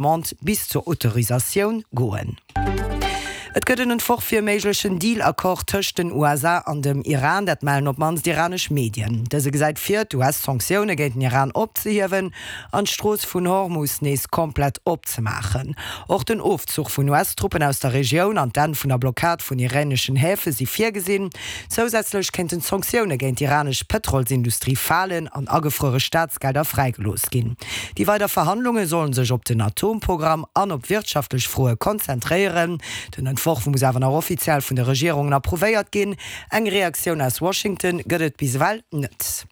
Demande bis zur Autorisatioun goen. Et gëtt en Entworf fir e méiglechen Deal-Accord tëscht den USA an dem Iran, dat mellen op d'mannst iranesch Medien. Dëse gesäit vir, d'US-Sanktioune géint den Iran opzehiewen an d'Strooss vun Hormus nees komplett opzemaachen. Och den Ofzuch vun US-Truppen aus der Regioun an d'Enn vun der Blockad vun iraneschen Häfe si virgesinn. Zousätzlech kéinten d'Sanktioune géint d'iranesch Pëtrolsindustrie falen an agefruere Staatsgelder fräigelooss ginn. Déi weider Verhandlunge sollen sech op den Atomprogramm an op wirtschaftlech Froe konzentréieren. Den Entworf muss awer nach offiziell vun de Regierungen approuvéiert ginn. Eng Reaktioun aus Washington gëtt et bis ewell net.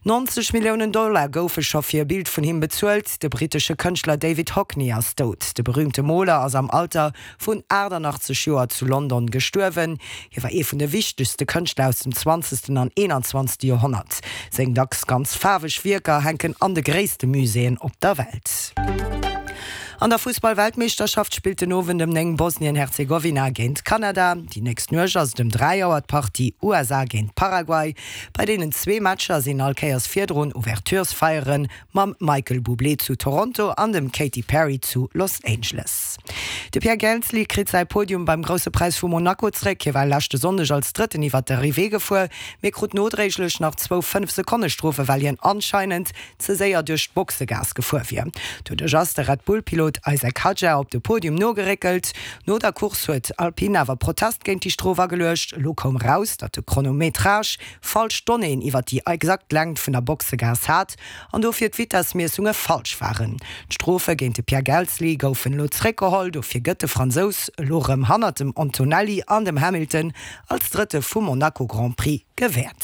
90 Milliounen Dollar goufe scho fir e Bild vun him bezuelt. De brittesche Kënschtler David Hockney ass dout. De berüümte Moler ass am Alter vun 88 Joer zu London gestuerwen. Hie war ee vun de wichtegste Kënschtler aus dem zwanzegsten an eenanzwanzegste Joerhonnert. Seng dacks ganz faarweg Wierker hänken an de gréisste Muséeën op der Welt. An der Fussball-Weltmeeschterschaft spillt den Owend ëm 9 Bosnien-Herzegowina géint Kanada. Déi nächst Nuecht ass et ëm 3 Auer d'Partie USA géint Paraguay. Bei deenen zwee Matcher sinn all Kéiers virdrun Ouverturesfeieren Mam Michael Bublé zu Toronto an dem Katy Perry zu Los Angeles. De Pierre Gasly kritt säi Podium beim Grousse Präis vu Monaco zréck. Hie war leschte Sonndeg als Drëtten iwwer d'Arrivée gefuer, mee krut nodréiglech nach zwou 5 Sekonne Strofe well hien anscheinend ze séier duerch d'Boxegaass gefuer wier. Doduerch ass de Red Bull Pilot Isack Hadjar op de Podium nogeréckelt. No der Course huet Alpine awer Protest géint déi Strof ageluecht. Elo koum eraus, datt de Chronometrage falsch Donnéeën iwwer déi exakt Längt vun der Boxegaass hat an dofir d'Vitessmiessunge falsch waren. D'Strofe géint de Pierre Gasly goufen elo zeréckgeholl, dofir gëtt de Fransous elo rëm hannert dem Antonelli an dem Hamilton als Drëtte vum Monaco Grand Prix gewäert.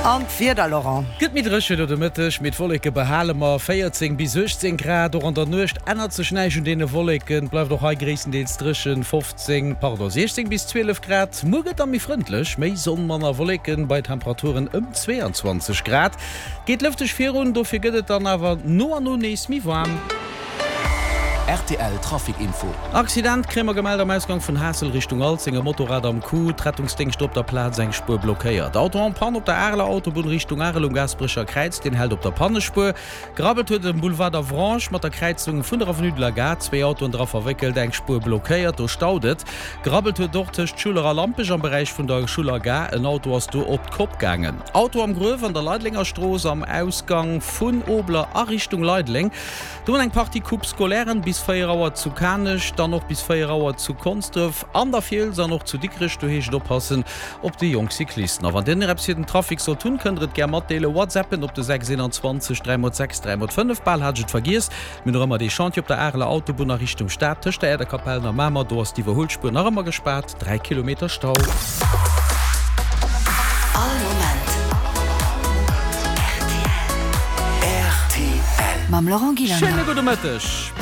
An d'Wieder, Laurent? Gëtt méi dréchen no de Mëtteg, mee d'Wolleke behale mer, 14 bis 18 Grad. Och an der Nuecht ännert sech näischt un deene Wolleken, et bleift och hei gréisstendeels dréchen, 15, pardon, 16 bis 12 Grad. Muer gëtt da méi frëndlech, méi Sonn, manner Wolleken, bei Temperaturen ëm 22 Grad. Geet lëfteg virun, dofir gëtt et dann awer no an no nees méi waarm. Rtl Trafic Info. Accident kréie mer gemellt am Ausgang vun Haassel Richtung Alzeng, e Motorrad am Coup, d'Rettungsdéngschter op der Plaz, eng Spuer blockéiert. Auto en panne op der Areler Autobunn Richtung Arel um Gaasperecher Kräiz, deen hält op der Pannespuer. Gerabbelt huet et um Boulevard d'Avranches mat der Kräizung vun der Avenue de la Gare, zwee Autoen dra verwéckelt, eng Spuer blockéiert, do staut et. Gerabbelt huet et och tëscht Schuller a Lampech am Beräich vun der Schuller Gare, en Auto ass do op d'Kopp gaangen. Auto am Gruef an der Leidelenger Strooss am Ausgang vun Obler a Richtung Leideleng. Do hunn eng Partie Coupe Scolairen bis 4 Auer zu Kanech, dann och bis 4 Auer zu Konsdref an der Fiels an och zu Dikrech. Do heescht et oppassen op déi jonk Cyclisten. A wann dir nach eppes fir den Trafic sollt hunn, kënnt der et gär matdeelen. Whatsappen op de 6 21 3 x 6 3 x 5. Bal hat ech et vergiess, mir hunn nach ëmmer dee Chantier op der Areler Autobunn a Richtung Stad tëscht der Äerderkapellen a Mamer. Do ass d'Iwwerhuelspuer nach ëmmer gespaart, 3 Kilometer Stau. All Moment rtl. Mam Laurent Gillander. Schéine gudde Mëtteg.